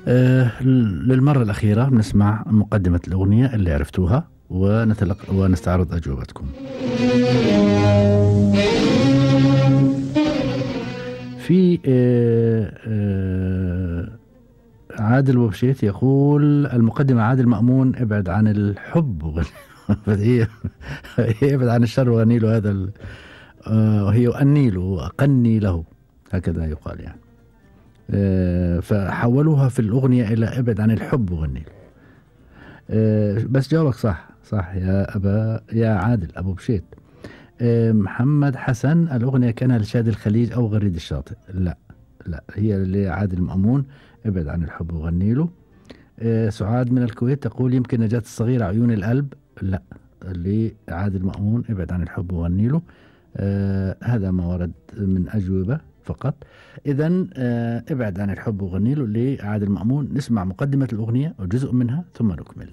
للمرة الأخيرة بنسمع مقدمة الأغنية اللي عرفتوها ونستعرض أجوبتكم. في عادل وبشيت يقول المقدمة عادل مأمون ابعد عن الحب ابعد عن الشر وغني له هذا وهي أني له وأقني له هكذا يقال يعني. فحولوها في الأغنية إلى ابعد عن الحب وغني له. بس جاوبك صح يا عادل أبو بشيت. محمد حسن الأغنية كانها لشادي الخليج أو غريد الشاطئ. لا هي لعادل مأمون ابعد عن الحب وغني له. سعاد من الكويت تقول يمكن نجاة الصغيرة عيون القلب. لا لعادل مأمون ابعد عن الحب وغني له. هذا ما ورد من أجوبة فقط. إذن ابعد عن الحب وغني له لعادل مأمون. نسمع مقدمة الأغنية وجزء منها ثم نكمل.